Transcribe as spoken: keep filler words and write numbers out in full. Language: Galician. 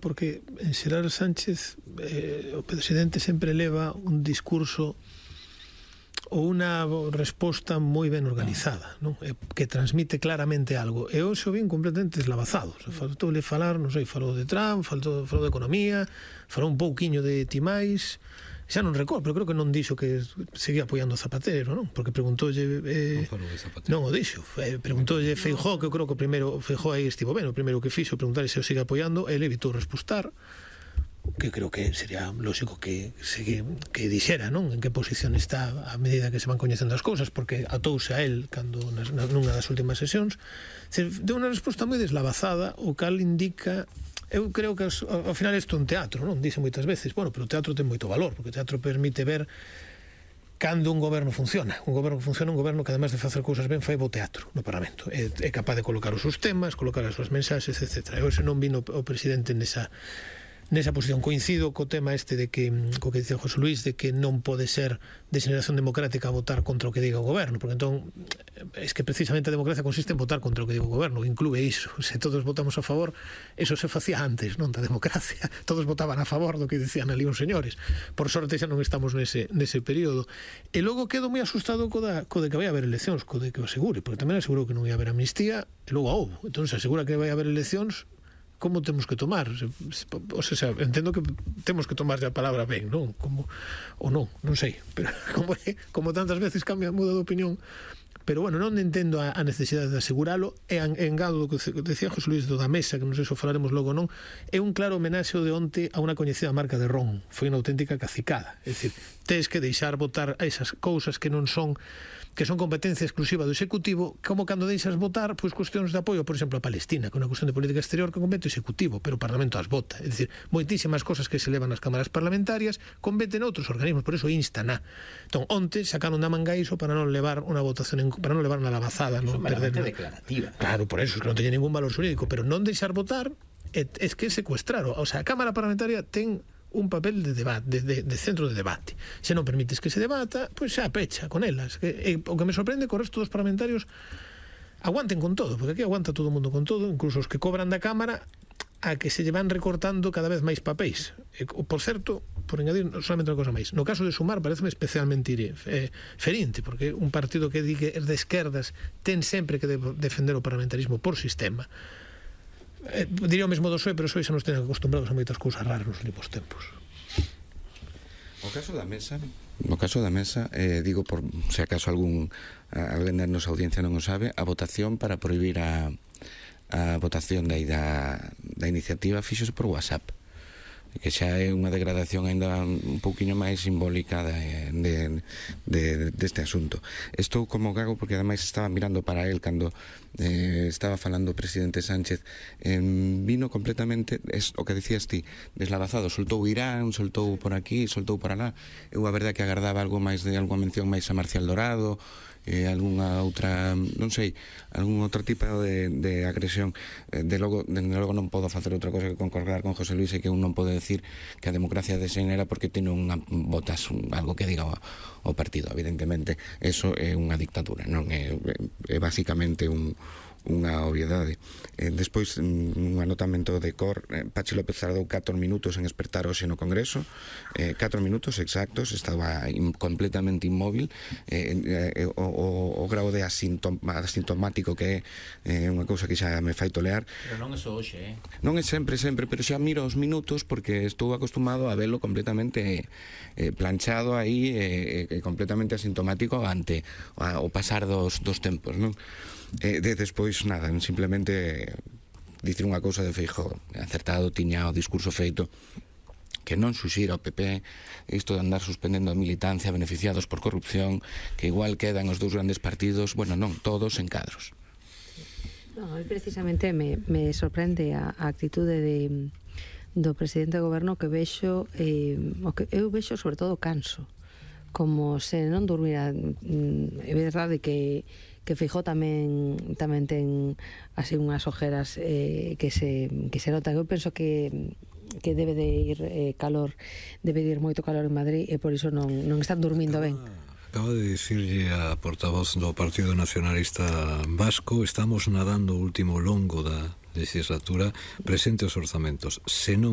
porque en Xerar Sánchez eh, o presidente sempre leva un discurso ou unha resposta moi ben organizada, non? Que transmite claramente algo, e hoxe o vin completamente deslavazado. Faltou-le falar, non sei, falou de Trump, falou, falou de economía, falou un pouquiño de Timais, xa non recordo, pero creo que non dixo que seguía apoiando a Zapatero, non? Porque preguntoulle eh, non falou de Zapatero. Non o dixo, eh, preguntoulle Feijóo, que eu creo que o primeiro Feijóo aí estivo ben, o primeiro que fixo preguntar se o sigue apoiando, ele evitou respostar, que creo que sería lógico que que, que dixera, non? En que posición está a medida que se van coñecendo as cousas, porque atouse a él cando nas, nunha das últimas sesións. Deu unha resposta moi deslavazada, o cal indica. Eu creo que ao final isto é un teatro, non? Dice moitas veces, bueno, pero o teatro ten moito valor, porque o teatro permite ver cando un goberno funciona. Un goberno que funciona, un goberno que además de facer cousas ben fai bo teatro no Parlamento. É, é capaz de colocar os seus temas, colocar as súas mensaxes, etcétera. Eu se non vino o presidente nesa nesa posición. Coincido co tema este de que, co que dicía José Luis, de que non pode ser de xeneración democrática votar contra o que diga o goberno, porque entón es que precisamente a democracia consiste en votar contra o que diga o goberno, inclúe iso. Se todos votamos a favor, eso se facía antes, non, da democracia. Todos votaban a favor do que dicían ali uns señores. Por sorte xa non estamos nese, nese período. E logo quedo moi asustado co, da, co de que vai haber eleccións, co de que o asegure, porque tamén asegurou que non ia haber amnistía, e logo a houbo. Entón se asegura que vai haber eleccións, como temos que tomar? O sea, entendo que temos que tomar a palabra ben, non? Como, ou non, non sei, pero como, como tantas veces cambia, muda de opinión. Pero bueno, non entendo a, a necesidade de aseguralo, e engado do que decía José Luis do da mesa, que non sei se o falaremos logo non, é un claro homenaxe de onte a unha coñecida marca de ron. Foi unha auténtica cacicada, é dicir, tes que deixar votar a esas cousas que non son, que son competencia exclusiva do Executivo, como cando deixas votar pois cuestións de apoio, por exemplo, a Palestina, que é unha cuestión de política exterior que compete o Executivo, pero o Parlamento as vota. É dicir, moitísimas cosas que se levan nas cámaras parlamentarias competen outros organismos, por eso instan a. Entón, onte sacaron da manga iso para non levar unha votación, en, para non levar unha lavazada, non perder. Eso é declarativa. Claro, por eso, es que non teña ningún valor xurídico, pero non deixar votar é, é que secuestrar. O sea, a Cámara Parlamentaria ten un papel de debate, de, de, de centro de debate. Se non permites que se debata, pois pues xa pecha con elas. Que, e, o que me sorprende que o resto dos parlamentarios aguanten con todo, porque aquí aguanta todo o mundo con todo, incluso os que cobran da Cámara, a que se lle van recortando cada vez máis papéis. E, por certo, por engadir solamente unha cosa máis, no caso de Sumar pareceme especialmente eh, ferinte, porque un partido que di que é de esquerdas ten sempre que de, defender o parlamentarismo por sistema. Eh, diría o mesmo do P S O E, pero o P S O E xa nos ten acostumbrados a moitas cousas raras nos últimos tempos. O caso da mesa, no caso da mesa, eh, digo por se acaso algún alguén da nosa audiencia non o sabe, a votación para prohibir a, a votación da, da, da iniciativa fíxose por WhatsApp, que xa é unha degradación ainda un pouquiño máis simbólica de, de, de, deste asunto. Estou como gago porque ademais estaba mirando para él cando eh, estaba falando o presidente Sánchez, eh, vino completamente, es o que decías ti, deslavazado, soltou Irán, soltou por aquí, soltou por alá. Eu a verdade que agardaba algo máis de algunha mención máis a Marcial Dorado, eh, algunha outra, non sei, algún outro tipo de, de agresión. Eh, de logo, de logo non podo facer outra cosa que concordar con José Luis, e que un non pode decir que a democracia desenera porque ten unha votas un, algo que diga o, o partido. Evidentemente, eso é unha dictadura, non é, é basicamente un unha obviedade. Eh, despois, un anotamento de cor, eh, Pachi López tardou catro minutos en espertar hoxe no Congreso, eh, catro minutos exactos, estaba in, completamente inmóvil, eh, eh, o, o, o grau de asintom, asintomático que é eh, unha cousa que xa me fai tolear. Pero non é só hoxe, eh? Non é sempre, sempre, pero xa miro os minutos porque estou acostumado a velo completamente eh, planchado aí, eh, eh, completamente asintomático ante a, o pasar dos, dos tempos, non? Eh, de despois, nada, simplemente dicir unha cousa de Feijóo, acertado, tiña o discurso feito, que non suxira ao P P isto de andar suspendendo a militancia beneficiados por corrupción, que igual quedan os dous grandes partidos, bueno, non, todos en cadros. No, precisamente me, me sorprende a, a actitude de, do presidente do goberno, que vexo, eh, o que eu vexo sobre todo canso, como se non durmira. É verdade que que Feijóo tamén tamén ten así unhas ojeras eh, que se que se nota. Eu penso que que debe de ir eh, calor, debe de ir moito calor en Madrid, e por iso non non están dormindo ben. Acaba de dicirlle a portavoz do Partido Nacionalista Vasco: estamos nadando o último longo da legislatura, presente os orzamentos. Se non